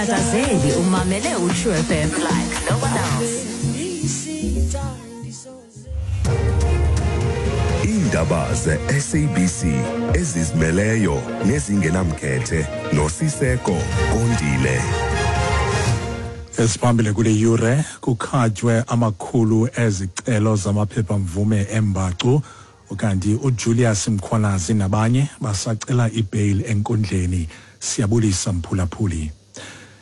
Ungatatazeli umamele uTrue FM like no one else. Iindaba ze-SABC ezizimeleyo nezingenamkhethe noSiseko Kondile. Esiphambili kule yure, kukhatywe amakhulu ezicelo zamaphepha-mvume embacu, ukanti uJulius Mkhwanazi nabanye basacela ibail enkundleni. Siyabulisa mphulaphuli.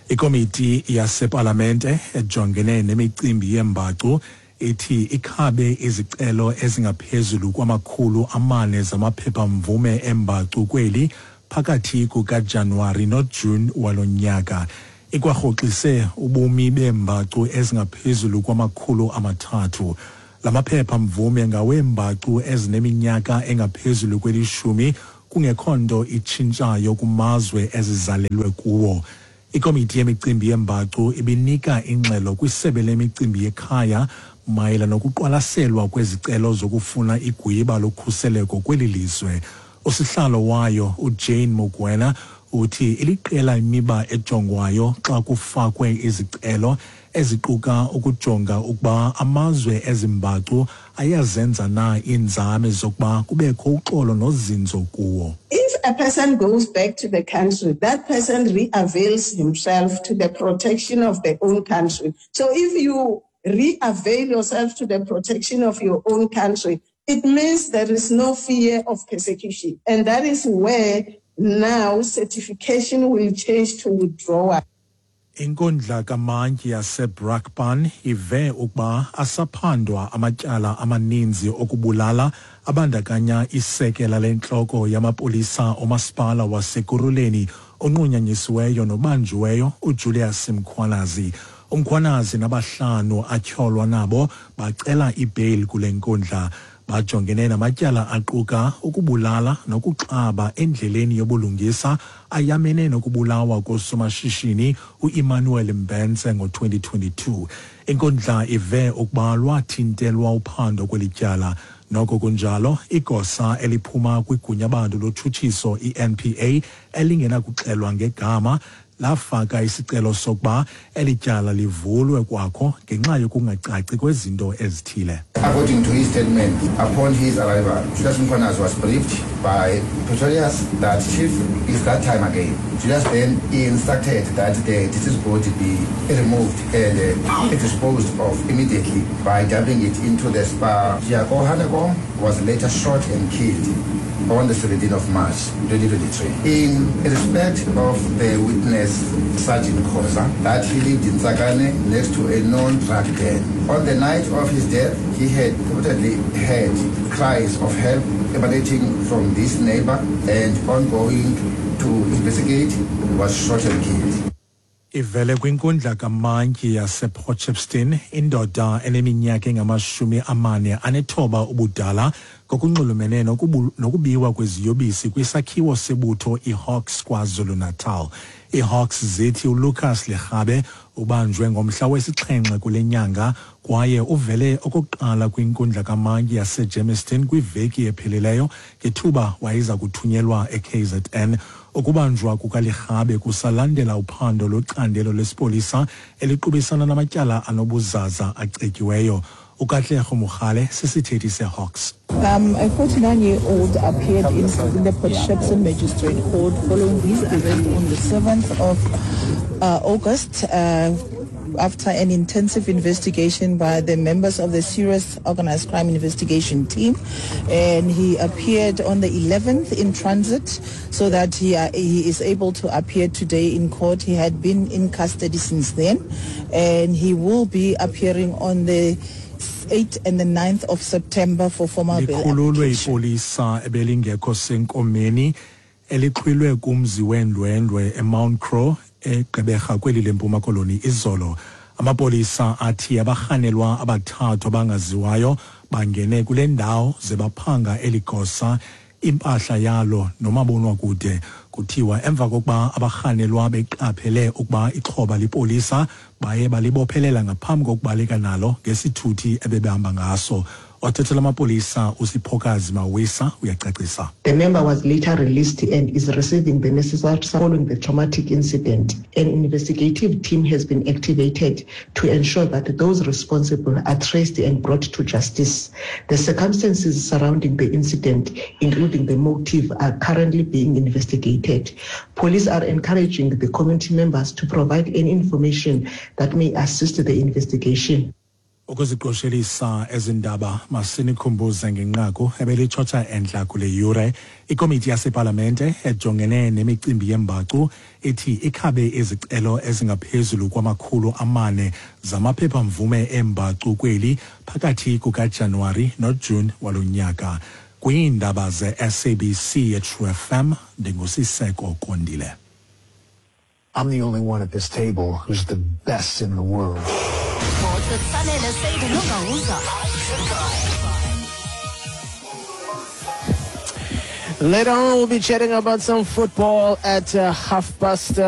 Ikomiti yasepalamente ejongene nemicimbi yembacu ithi ikhabe izicelo ezingaphezulu kwama-400 zamaphepha-mvume embacu kweli phakathi kukaJanuwari noJuni walo nyaka. Ikwarhoxise ubumi beembacu ezingaphezulu kwama-300. La maphepha-mvume ngaweembacu ezineminyaka engaphezulu kwelishumi kungekho nto itshintshayo kumazwe ezizalelwe kuwo. Ikomiti yemicimbi yembacu ibinika ingxelo kwisebe lemicimbi yekhaya mayela nokuqwalaselwa kwezicelo zokufuna igwiba lokhuseleko kweli lizwe. Usihlalo wayo uJane Mokoena uthi iliqela imiba ejongwayo xa kufakwe izicelo, eziquka ukujonga ukuba amazwe ezimbacu ayazenza na iinzame zokuba kubekho uxolo nozinzo kuwo. If a person goes back to the country, that person re-avails himself to the protection of their own country. So if you re-avail yourself to the protection of your own country, it means there is no fear of persecution. And that is where now certification will change to withdrawal. Inkundla kamantyi yaseBrakpan ive ukuba asaphandwa amatyala amaninzi okubulala abandakanya isekela lentloko yamapolisa omasipala waseKurhuleni onqunyanyisiweyo nobanjiweyo uJulius Mkhwanazi. UMkhwanazi nabahlanu atyholwa nabo bacela ibail kule nkundla. Bajongene namatyala aquka ukubulala nokuxaba endleleni yobulungisa ayamene nokubulawa kosomashishini uEmmanuel Mbense ngo-2022. Inkundla ive ukuba lwathintelwa uphando kweli tyala. Noko kunjalo, igosa eliphuma kwigunyabantu lotshutshiso i-NPA elingenakuxelwa ngegama lafaka isicelo sokuba eli tyala livulwe kwakho ngenxa yokungacaci kwezinto ezithile. According to his statement, upon his arrival, Julius Mkhwanazi was briefed by Pretorius that, "Chief, it's that time again." Julius then instructed that the deceased body be removed and disposed of immediately by dumping it into the Spar. Jaco Hanekom was later shot and killed on the 17th of March 2023. In respect of the witness, Sergeant Khoza, that he lived in Tsakane next to a known drug den. On the night of his death, he had reportedly heard cries of help emanating from this neighbor and on going to investigate was shot and killed. Ivele kwinkundla kamantyi yasePort indoda eneminyaka engama-49 ubudala ngokunxulumene nokubiwa kweziyobisi kwisakhiwo sebutho iHawks KwaZulu-Natal. IHawks zithi uLucas Lekgabe ubanjwe ngomhla wesi-7 kule nyanga kwaye uvele okokuqala kwinkundla kamantyi yaseGermiston kwiveki ephelileyo ngethuba wayeza kuthunyelwa eKZN. Ukubanjwa kukaLekgabe kusalandela uphando lwecandelo lesipolisa eliqubisana namatyala anobuzaza acetyiweyo. UKatlego Mogale sisithethi seHawks. A 49-year-old appeared in the Port Shepstone Magistrate Court following his arrest on the 7th of August after an intensive investigation by the members of the Serious Organized Crime Investigation Team. And he appeared on the 11th in transit so that he is able to appear today in court. He had been in custody since then, and he will be appearing on the 8th and the 9th of September for formal bail Likhululwe application. ipolisa ebelingekho senkomeni elixhwilwe kumzi weendwendwe eMount Crow eGqeberha kweli leMpuma Koloni izolo. Amapolisa athi abarhanelwa abathathu abangaziwayo bangene kule ndawo ze baphanga eli gosa, impahla yalo nomabonwakude. Kuthiwa emva kokuba abarhanelwa beqaphele ukuba ixhoba lipolisa, baye balibophelela ngaphambi kokubaleka nalo ngesithuthi ebebehamba ngaso. Othethela amapolisa uSiphokazi Mawisa uyacacisa. The member was later released and is receiving the necessary following the traumatic incident. An investigative team has been activated to ensure that those responsible are traced and brought to justice. The circumstances surrounding the incident, including the motive, are currently being investigated. Police are encouraging the community members to provide any information that may assist the investigation. Ukuziqoshelisa ezi ndaba, masinikhumbuze ngenqaku ebelitshotsha entla kule yure. Ikomiti yasepalamente ejongene nemicimbi yembacu ithi ikhabe izicelo ezingaphezulu kwama-400 zamaphepha-mvume eembacu kweli phakathi kukaJanuwari noJuni walo nyaka. Kwiindaba ze-SABC eTrue FM, ndinguSiseko Kondile. I'm the only one at this table who's the best in the world. Sports with Sanele Seidi Lungauza. Later on, we'll be chatting about some football at half past.